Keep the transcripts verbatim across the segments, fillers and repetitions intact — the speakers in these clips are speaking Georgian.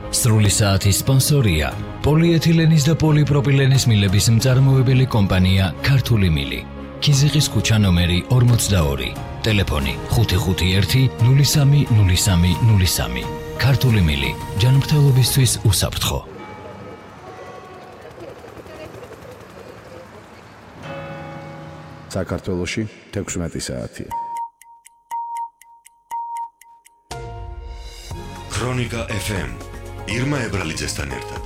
სრული საათის სპონსორია პოლიეთილენის და პოლიპროპილენის მილების მწარმოებელი კომპანია ქართული მილი. ქიზიყის ქუჩა ნომერი ორმოცდაორი. ტელეფონი ხუთი ხუთი ერთი ნული სამი ნული სამი ნული სამი. ქართული მილი ჯანმრთელობისთვის უსაფრთხო. საქართველოში თექვსმეტი საათია. ქრონიკა ეფ ემ ირმა ებრალიძესთან ერთად.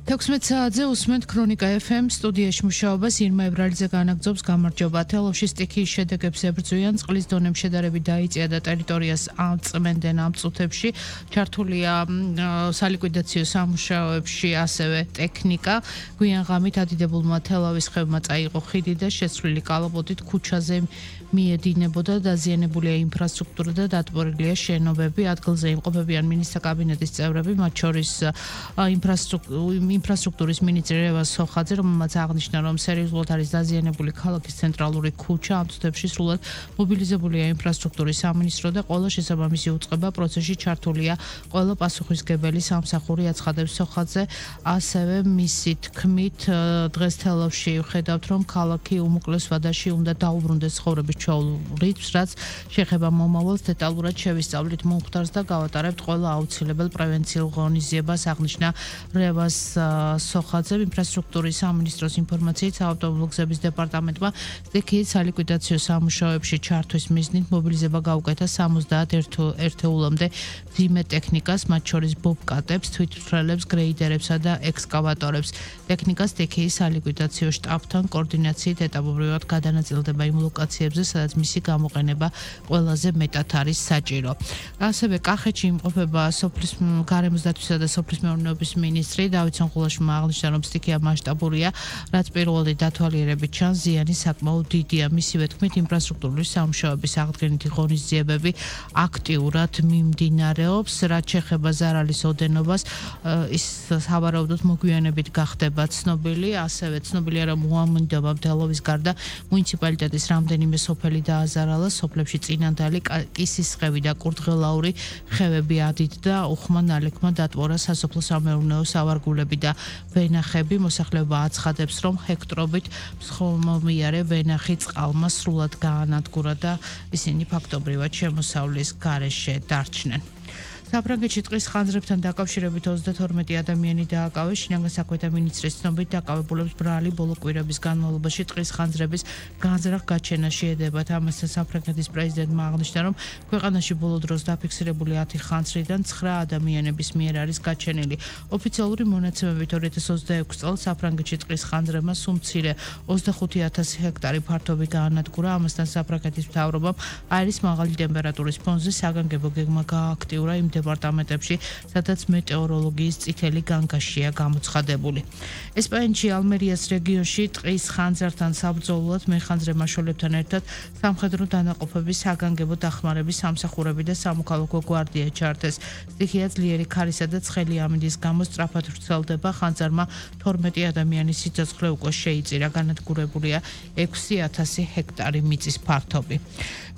თექვსმეტ საათზე უსმენთ ქრონიკა ეფ ემ სტუდიაში მუშაობას ირმა ებრალიძე განაგრძობს. გამარჯობა. თელავში სტიქიის შედეგებს ებრძვიან, წყლის დონემ შედარებით დაიწია და ტერიტორიას აწმენდნენ ამ წუთებში. ჩართულია სალიკვიდაციო სამუშაოებში ასევე ტექნიკა. გვიან ღამით ადიდებულმა თელავის ხევმა წაიღო ხიდი და შეცვლილი კალაპოტით ქუჩაზე მიედინებოდა. დაზიანებულია ინფრასტრუქტურა და დატბორილია შენობები. ადგილზე იმყოფებიან მინისტრთა კაბინეტის წევრები, მათ შორის ინფრასტრუქტურის მინისტრი რევაზ სოხაძე, რომელმაც აღნიშნა, რომ სერიოზულად არის დაზიანებული ქალაქის ცენტრალური ქუჩა. ამ წუთებში სრულად მობილიზებულია ინფრასტრუქტურის სამინისტრო და ყველა შესაბამისი უწყება პროცესში ჩართულია. ყველა პასუხისმგებელი სამსახური, აცხადებს სოხაძე. ასევე მისი თქმით, დღეს თელავში ვხედავთ, რომ ქალაქი უმოკლეს ვადაში უნდა დაუბრუნდეს ცხოვრების ჩვეულით, რაც შეეხება მომავალს, დეტალურად შევისწავლით მომხდარს და გავატარებთ ყველა აუცილებელ პრევენციულ ღონისძიებას, აღნიშნა რევაზ სოხაძე. ინფრასტრუქტურის სამინისტროს ინფორმაციით, საავტომობილო გზების დეპარტამენტმა სტიქიის სალიკვიდაციო სამუშაოებში ჩართვის მიზნით მობილიზება გაუკეთა სამოცდაათ ერთეულამდე მძიმე ტექნიკას, მათ შორის ბობკატებს, თვითმცვლელებს, გრეიდერებსა და ექსკავატორებს. ტექნიკა სტიქიის სალიკვიდაციო შტაბთან კოორდინაციით ეტაპობრივად გადანაწილდება იმ ლოკაციებზე, სადაც მისი გამოყენება ყველაზე მეტად არის საჭირო. ასევე კახეთში იმყოფება სოფლის გარემოს დათვისა და სოფლის მეურნეობის მინისტრი დავით სონხულაშვილმა აღნიშნა, რომ სტიქია მასშტაბურია, რაც პირველი დათვალიერებით ჩანს, ზიანი საკმაოდ დიდია. მისივე თქმით, ინფრასტრუქტურული სამუშაოების აღდგენითი ღონისძიებები აქტიურად მიმდინარეობს. რაც შეეხება ზარალის ოდენობას, ის სავარაუდოდ მოგვიანებით გახდება ცნობილი. ასევე ცნობილია, რომ უამინდობა თელავის გარდა მუნიციპალიტეტის რამდენიმე სოფელი დააზარალა. სოფლებში წინანდალი, კისისხევი და კურდღელაური ხევები ადიდდა. უხმა ნალექმა დატბორა სასოფლო სამეურნეო სავარგულები და ვენახები. მოსახლეობა აცხადებს, რომ ჰექტრობით მსხმომიარე ვენახი წყალმა სრულად გაანადგურა და ისინი ფაქტობრივად შემოსავლის გარეშე დარჩნენ. საფრანგეთში ტყის ხანძრებთან დაკავშირებით ოცდათორმეტი ადამიანი დააკავეს. შინაგან საქმეთა მინისტრის ცნობით, დაკავებულებს ბრალი ბოლო კვირების განმავლობაში ტყის ხანძრების განზრახ-გაჩენა შეედებათ. ამასთან საფრანგეთის პრეზიდენტმა აღნიშნა, რომ ქვეყანაში ბოლო დროს დაფიქსირებული ათი ხანძრიდან ცხრა ადამიანების მიერ არის გაჩენილი. ოფიციალური მონაცემებით ორი ათას ოცდაექვსი წელს საფრანგეთში ტყის ხანძრებმა სულ მცირე ოცდახუთი ათასი ჰექტარი ფართობი გაანადგურა. ამასთან საფრანგეთის მთავრობამ აირის მაღალი ტემპერატურის ფონზე საგანგებო გეგმა გააქტიურა იმ დეპარტამენტებში, სადაც მეტეოროლოგიის წითელი განგაშია გამოცხადებული. ესპანეთში ალმერიას რეგიონში ტყის ხანძრთან საბრძოლოდ მეხანძრე მაშველებთან ერთად სამხედრო დანაყოფების საგანგებო დახმარების სამსახურები და სამოქალაქო გვარდია ჩართეს. სტიქია ძლიერი ქარისა და ცხელი ამინდის გამო სწრაფად ვრცელდება. ხანძარმა თორმეტი ადამიანის სიცოცხლე უკვე შეიწირა. განადგურებულია ექვსი ათასი ჰექტარი მიწის ფართობი.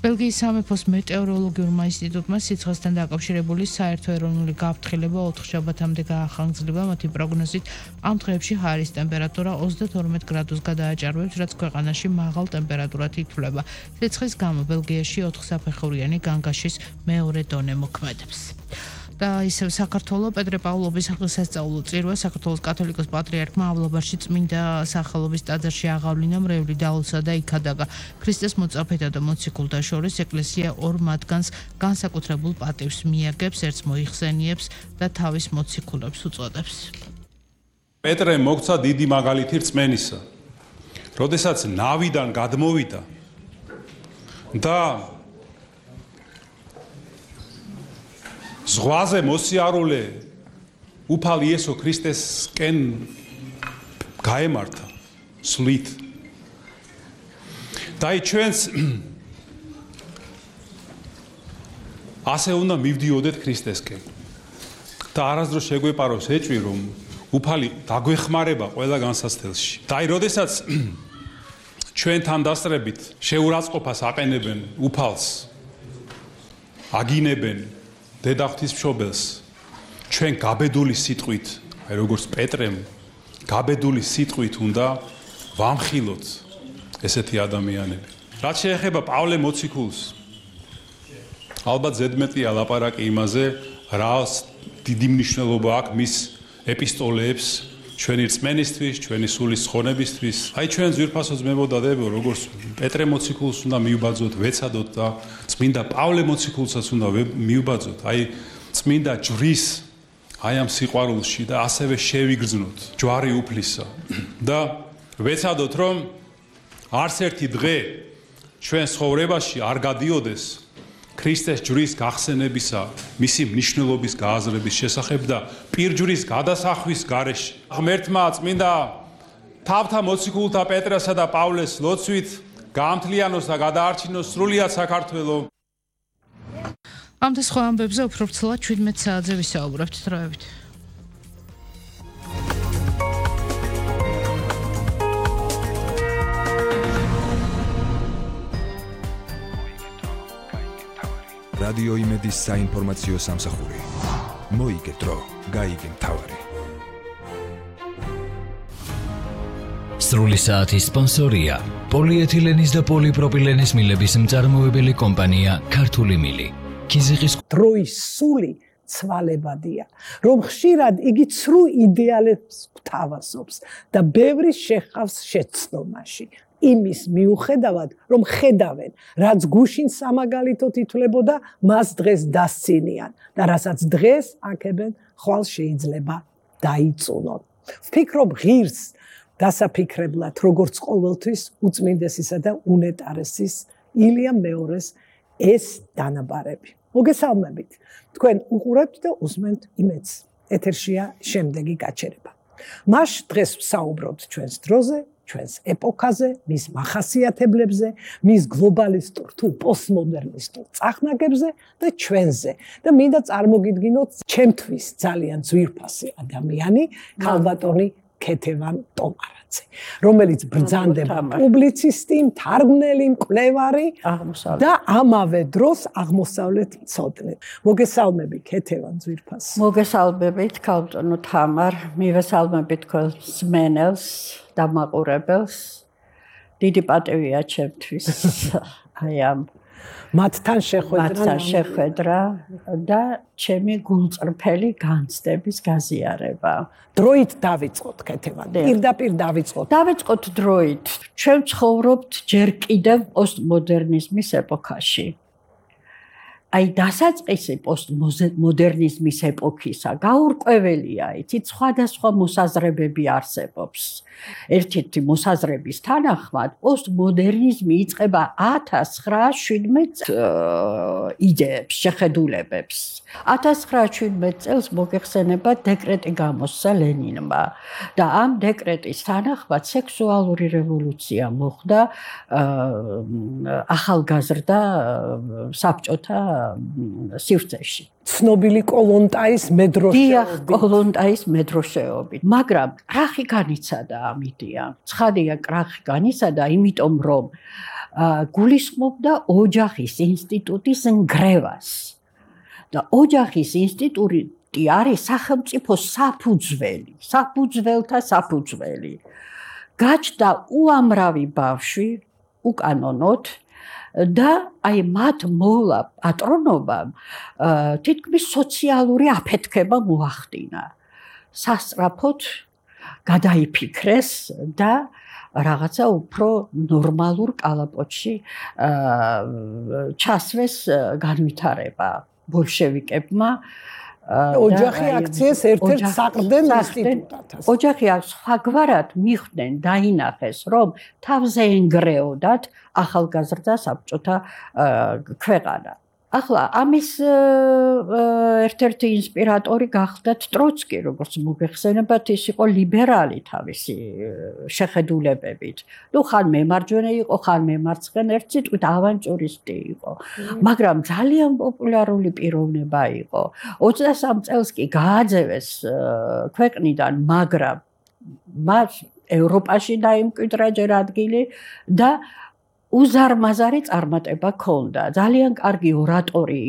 ბელგიის სამეფოს მეტეოროლოგიურმა ინსტიტუტმა სიცხესთან დაკავშირებული საერთო ეროვნული გაფრთხილება ოთხშაბათამდე გაახანგრძლივა. მათი პროგნოზით ამ დღეებში ჰაერის ტემპერატურა ოცდათორმეტ გრადუსს გადააჭარბებს, რაც ქვეყანაში მაღალ ტემპერატურად ითვლება. სიცხეს გამო ბელგიაში ოთხსაფეხურიანი განგაშის მეორე დონე მოქმედებს. და ისევ საქართველოს პეტრე-პავლოვის სასწავლო წირვა საქართველოს კათოლიკოს პატრიარქმა ავლაბარში წმინდა სახელობის ტაძარში აღავლინა მრევლი დაულსა და იქადაგა. ქრისტეს მოწაფეთა და მოციქულთა შორის ეკლესია ორ მათგანს განსაკუთრებულ პატივს მიაგებს, ერთს მოიხსენიებს და თავის მოციქულებს უწოდებს. პეტრე მოგცა დიდი მაგალითი რწმენისა, როდესაც ნავიდან გადმოვიდა და ზღვაზე მოსიარულე უფალ იესო ქრისტესკენ გაემართა სვლით. და ჩვენს ასე უნდა მივდიოდეთ ქრისტესკენ. და არასდროს შეგვეპაროს ეჭვი, რომ უფალი დაგვეხმარება ყველა განსაცდელში. და აი, როდესაც ჩვენთან დასწრებით შეურაცხყოფას აყენებენ უფალს, აგინებენ დედა ღვთისმშობელს ჩვენ გაბედული სიტყვით, აი როგორც პეტრემ გაბედული სიტყვით უნდა ვამხილოთ ესეთი ადამიანები. რაც შეეხება პავლე მოციქულს, ალბათ ზედმეტია ლაპარაკი იმაზე, რა დიდი მნიშვნელობა აქვს მის ეპისტოლეებს ჩვენი რწმენისთვის, ჩვენი სულის ხონებისთვის. აი ჩვენ ძვირფასო ძმებოდადებო, როგორც პეტრე მოციქულს უნდა მივბაძოთ, ვეცადოთ და წმინდა პავლე მოციქულსაც უნდა მივბაძოთ. აი წმინდა ჯვრის აი ამ სიყვარულში და ასევე შევიგრძნოთ ჯვარი უფლისა და ვეცადოთ რომ არც ერთი დღე ჩვენ ცხოვრებაში არ გადიოდეს ქრისტეს ჯვრის გახსენებისა, მისი მნიშვნელობის გააზრების შესახებ და პირჯვრის გადასახვის გარეშე. ღმერთმა წმინდა თავთა მოციქულთა პეტრესა და პავლეს ლოცვით გაამთლიანოს და გადაარჩინოს სრულიად საქართველო. ამ და სხვა ამბებზე უფრო ვრცლად შვიდმეტ საათზე ვისაუბრებთ დროებით. რადიო იმედის საინფორმაციო სამსახური. მოიგე დრო, გაიგე მთავარი. სრული საათის სპონსორია პოლიეთილენის და პოლიპროპილენის მილების მწარმოებელი კომპანია ქართული მილი. ქიზიყის დროის სული ცვალებადია, რომ ხშირად იგი ცრუ იდეალებს გვთავაზობს და ბევრი შეხავს შეცდომაში. იმის მიუხედავად, რომ ხედავენ, რაც გუშინ სამაგალითოდ ითვლებოდა, მას დღეს დასცინიან და რასაც დღეს აქებენ, ხვალ შეიძლება დაიწუნონ. ვფიქრობ ღირს დასაფიქრებლად, როგორც ყოველთვის უწმინდესისა და უნეტარესის ილია მეორეს ეს დანაბარები. მოგესალმებით. თქვენ უყურებთ და უსმენთ იმედს. ეთერშია შემდეგი გაჩერება. მას დღეს ვსაუბრობთ ჩვენს დროზე, ჩვენს ეპოქაზე, მის მახასიათებლებზე, მის გლობალისტურ თუ პოსტმოდერნისტურ წახნაგებზე და ჩვენზე. და მინდა წარმოგიდგინოთ ჩემთვის ძალიან ძვირფასი ადამიანი, ქალბატონი ქეთევან ტომარაძე, რომელიც ბრძანდება პუბლიცისტი, მთარგმნელი, მკვლევარი და ამავე დროს აღმოსავლეთ მცოდნე. მოგესალმები ქეთევან ძვირფას. მოგესალმებით ქალბატონო თამარ, მივესალმებით თქვენს მსმენელს და მაყურებელს. დიდი პატივია ჩემთვის აი ამ მათთან შეხვედრა მათთან შეხვედრა და ჩემი გულწრფელი განცდების გაზიარება. დროით დავიწყოთ ქეთევან. პირდაპირ დავიწყოთ. დავიწყოთ დროით. ჩვენ ცხოვრობთ ჯერ კიდევ პოსტმოდერნიზმის ეპოქაში. აი დასაწყისი პოსტმოდერნიზმის ეპოქისა გაურკვეველია, იცით, სხვადასხვა მოსაზრებები არსებობს. ერთ-ერთი მოსაზრების თანახმად პოსტმოდერნიზმი იწყება ათას ცხრაას შვიდმეტ იდეებს, შეხედულებებს. ათას ცხრაას შვიდმეტ წელს მოგეხსენება დეკრეტი გამოსცა ლენინმა და ამ დეკრეტის თანახმად სექსუალური რევოლუცია მოხდა ახალგაზრდა საბჭოთა სივრცეში. ცნობილი კოლონტაის მედროშეობით. დიახ, კოლონტაის მედროშეობით. მაგრამ კრახი განიცადა ამ იდეამ. ცხადია, კრახი განიცადა, იმიტომ რომ გულისხმობდა ოჯახის ინსტიტუტის ნგრევას. და ოჯახის ინსტიტუტი არის სახელმწიფო საფუძველი, საფუძველთა საფუძველი. გაჩნდა უამრავი ბავშვი უკანონოდ და აი მათ მოვლა პატრონობამ თითქმის სოციალური აფეთქება მოახდინა. სასწრაფოდ გადაიფიქრეს და რაღაცა უფრო ნორმალურ კალაპოტში ჩასვეს განვითარება ბოლშევიკებმა. ოჯახი აქციეს ერთ-ერთ საყრდენ ინსტიტუტად. ოჯახი სხვაგვარად მიხვდნენ, დაინახეს, რომ თავზე ენგრეოდათ ახალგაზრდა საბჭოთა ქვეყანა. ახლა ამის ერთ-ერთი ინსპირატორი გახდათ ტროცკი, როგორც მოგეხსენებათ, ის იყო ლიბერალი თავისი შეხედულებებით. ნუ ხან მემარჯვენე იყო, ხან მემარცხენე, ერთ სიტყვით ავანტიურისტი იყო. მაგრამ ძალიან პოპულარული პიროვნება იყო. ოცდასამ წელს კი გააძევეს ქვეყნიდან, მაგრამ მას ევროპაში დაიმკვიდრა ჯერ ადგილი და უზარმაზარი წარმატება ჰქონდა. ძალიან კარგი ორატორი